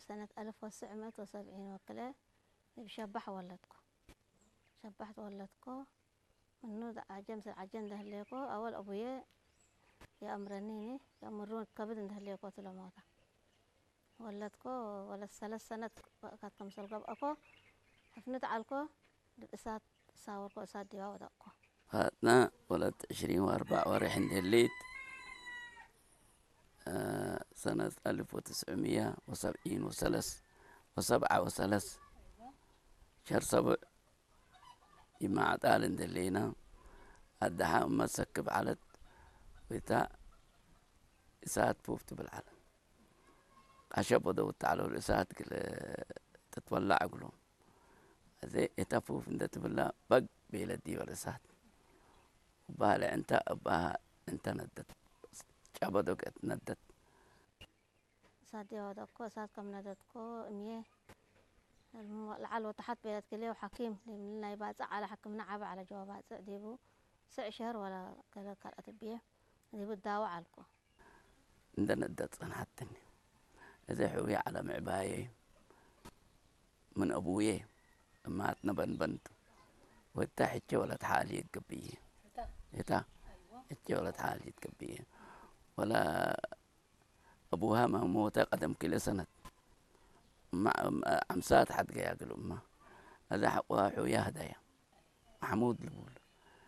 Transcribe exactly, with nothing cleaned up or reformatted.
ሰነት አልፍ ወትስዕ ምእት ወሰብዒን ወክልኤ እብ ሸባሕ ወለድኮ። ሸባሕ ተወለድኮ። ምኑ ዐጀ ምስል ዐጀ እንደ ህሌኮ፣ አወል አቡዬ የአምረኒኒ፣ የአምሩ ከብድ እንደ ህሌኮ ቱ ለሞታ። ወለድኮ፣ ወለት ሰለስ ሰነት ወእካት ከምሰል ገብአኮ፣ ሕፍንት ዐልኮ፣ እሳት ሳወርኮ፣ እሳት ዲባ ወደቅኮ። ፋጥነ ወለት ዕሽሪን ወአርበዕ ወሬሕ እንዴሊት፣ አ፣ ሰነት አልፍ ወትስዕምየ ወሰብዒን ወሰለስ ወሰብዓ ወሰለስ፣ ሸር ሰቡዕ ኢማዕጣል እንዴሌነ፣ አደሓ እመ ሰክብ ዐለት፣ ወእታ እሳት ፉፍ ትብል ዐለ። ቃሸ ቦደው ተዐለው ለእሳት እግል ትትወላዕ እግሎም። አዜ እተ ፉፍ እንዴ ትብላ በግ ቤለ ዲበ ለእሳት። እባህ ለዕንተ እባህ እንተ ነደት። ጨበዶ ገእት ነደት። እሳት ዲበ ወደቅኮ፣ እሳት ከም ነደትኮ እምዬ ለዐል ወተሐት ቤለት ክልኤሁ ሐኪም ዲብ ናይ ባጽዕ ዐለ፣ ሕክምነ ዐበ ዐለ ጀዋ ባጽዕ ዲቡ ስዕ ሸህር ወለ ገሌ ካልአት እብዬ ዲቡ እዳወ ዐልኮ። እንደ ነደት ጸንሐትኒ። እዜ ሕውየ ዐለ ምዕባየ ምን አቡዬ እማትነ በንበንቱ። ወእተ ሕቼ ወለት ሓልየት ገብዬ። እታ ሕቼ ወለት ሓልየት ገብዬ። ወለ አቡሃ መ ሞተ ቀደም ክልኤ ሰነት። እማ፣ አምሳት ሐድገያ እግል እማ። አዜ ሐቆሃ ሕውየ ሀደየ። መሕሙድ ልቡል።